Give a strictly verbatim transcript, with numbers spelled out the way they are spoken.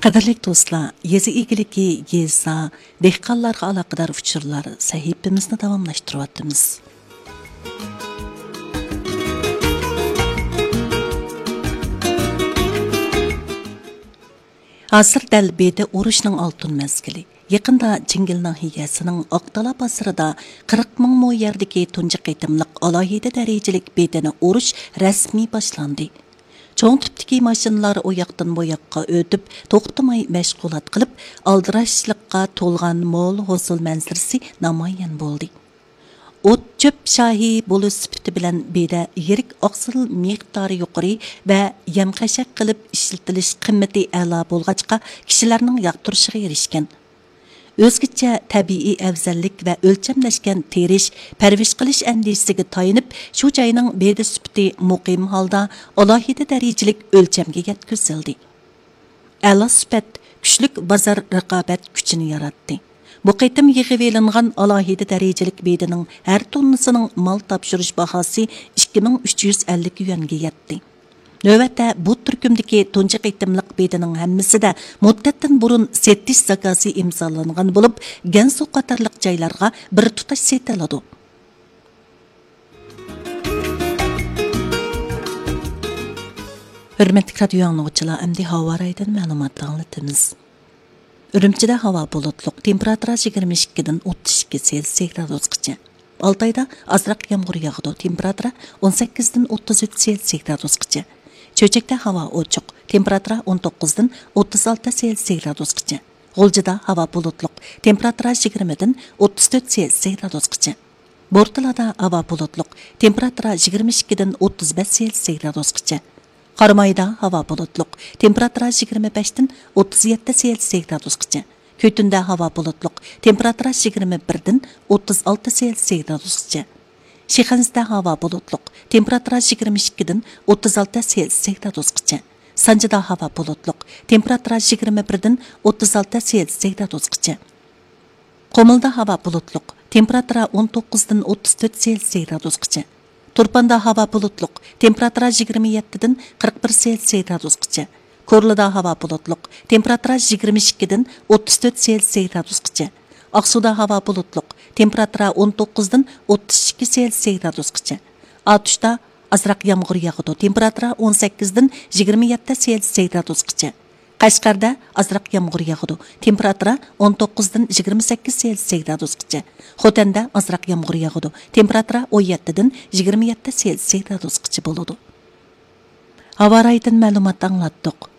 قەدىرلىك دوستلار، يېزا ئىگىلىكى، يېزا، دېھقانلارغا ئالاقىدار ئۇچۇرلار سەھىپىمىزنى داۋاملاشتۇرۇۋاتىمىز. ھازىر دەل بېدە ئورۇشنىڭ ئالتۇن مەزگىلى. يېقىندا جىڭگىل ناھىيەسىنىڭ ئاقتالا بازىرىدا قىرىق مىڭ مو يەردىكى تۇنجى قېتىملىق ئالاھىدە دەرىجىلىك بېدىنى ئورۇش رەسمىي باشلاندى. چوڭ تىپتىكى ماشىنىلار ئۇ ياقتىن بۇ ياققا ئۆتۈپ، توختىماي مەشغۇلات قىلىپ، ئالدىراشلىققا تولغان مول ھوسۇل مەنزىرىسى نامايان بولدى. ئوت-چۆپ شاھى بولۇش سۈپىتى بىلەن بېدە يىرىك ئاقسىل مىقدارى يۇقىرى ۋە يەم-خەشەك قىلىپ ئىشلىتىلىش قىممىتى ئەلا بولغاچقا، كىشىلەرنىڭ ياقتۇرۇشىغا ئېرىشكەن. ئۆزگىچە تەبىئىي ئەۋزەللىك ۋە ئۆلچەملەشكەن تېرىش، پەرۋىش قىلىش ئەندىزىسىگە تايىنىپ، شۇ جاينىڭ بېدە سۈپىتى مۇقىم ھالدا ئالاھىدە دەرىجىلىك ئۆلچەمگە يەتكۈزۈلدى. ئەلا سۈپەت كۈچلۈك بازار رىقابەت كۈچىنى ياراتتى. بۇ قېتىم يىغىۋېلىنغان ئالاھىدە دەرىجىلىك بېدىنىڭ ھەر توننىسىنىڭ مال تاپشۇرۇش باھاسى ئىككى مىڭ ئۈچ يۈز ئەللىك يۈەنگە يەتتى. نۆۋەتتە بۇ تۈركۈمدىكى تۇنجى قېتىملىق بېدىنىڭ ھەممىسىدە مۇددەتتىن بۇرۇن سېتىش زاكازى ئىمزالانغان بولۇپ، گەنسۇ قاتارلىق جايلارغا بىر تۇتاش سېتىلىدۇ. ھۆرمەتلىك رادىيو ئاڭلىغۇچىلار، ئەمدى ھاۋا رايىدىن مەلۇمات ئاڭلىتىمىز. ئۈرۈمچىدە ھاۋا بۇلۇتلۇق، تېمپېراتۇرا يىگىرمە ئىككىدىن ئوتتۇز ئىككى سېلسىيە گرادۇسقىچە. ئالتايدا ئازراق يامغۇر ياغىدۇ، تېمپېراتۇرا ئون سەككىزدىن ئوتتۇز ئۈچ سېلسىيە گرادۇسقىچە. چۆچەكتە ھاۋا ئوچۇق، تېمپېراتۇرا ئون توققۇزدىن ئوتتۇز ئالتە سېلسىيە گرادۇسقىچە. غۇلجىدا ھاۋا بۇلۇتلۇق، تېمپېراتۇرا يىگىرمىدىن ئوتتۇز تۆت سېلسىيە گرادۇسقىچە. بورتالادا ھاۋا بۇلۇتلۇق، تېمپېراتۇرا يىگىرمە ئىككىدىن ئوتتۇز بەش سېلسىيە گرادۇسقىچە. قارامايدا ھاۋا بۇلۇتلۇق، تېمپېراتۇرا يىگىرمە بەشتىن ئوتتۇز يەتتە سېلسىيە گرادۇسقىچە. كۈتۈندە ھاۋا بۇلۇتلۇق، تېمپېراتۇرا يىگىرمە بىردىن ئوتتۇز ئالتە سېلسىيە گرادۇسقىچە. شىخەنزىدە ھاۋا بۇلۇتلۇق، تېمپېراتۇرا يىگىرمە ئىككىدىن ئوتتۇز ئالتە سېلسىيە گرادۇسقىچە. سانجىدا ھاۋا بۇلۇتلۇق، تېمپېراتۇرا يىگىرمە بىردىن ئوتتۇز ئالتە سېلسىيە گرادۇسقىچە. قۇمۇلدا ھاۋا بۇلۇتلۇق، تېمپېراتۇرا ئون توققۇزدىن ئوتتۇز تۆت سېلسىيە گرادۇسقىچە. تۇرپاندا ھاۋا بۇلۇتلۇق، تېمپېراتۇرا يىگىرمە يەتتىدىن قىرىق بىر سېلسىيە گرادۇسقىچە. كورلىدا ھاۋا بۇلۇتلۇق، تېمپېراتۇرا يىگىرمە ئىككىدىن ئوتتۇز تۆت سېلسىيە گرادۇسقىچە. ئاقسۇدا ھاۋا بۇلۇتلۇق، تېمپېراتۇرا ئون توققۇزدىن ئوتتۇز ئىككى سېلسىيە گرادۇسقىچە. ئاتۇشتا ئازراق يامغۇر ياغىدۇ، تېمپېراتۇرا ئون سەككىزدىن يىگىرمە يەتتە سېلسىيە گرادۇسقىچە. قەشقەردە ئازراق يامغۇر ياغىدۇ، تېمپېراتۇرا ئون توققۇزدىن يىگىرمە سەككىز سېلسىيە گرادۇسقىچە. خوتەندە ئازراق يامغۇر ياغىدۇ، تېمپېراتۇرا ئون يەتتىدىن يىگىرمە يەتتە سېلسىيە گرادۇسقىچە بولىدۇ. ھاۋا رايىدىن مەلۇمات ئاڭلاتتۇق.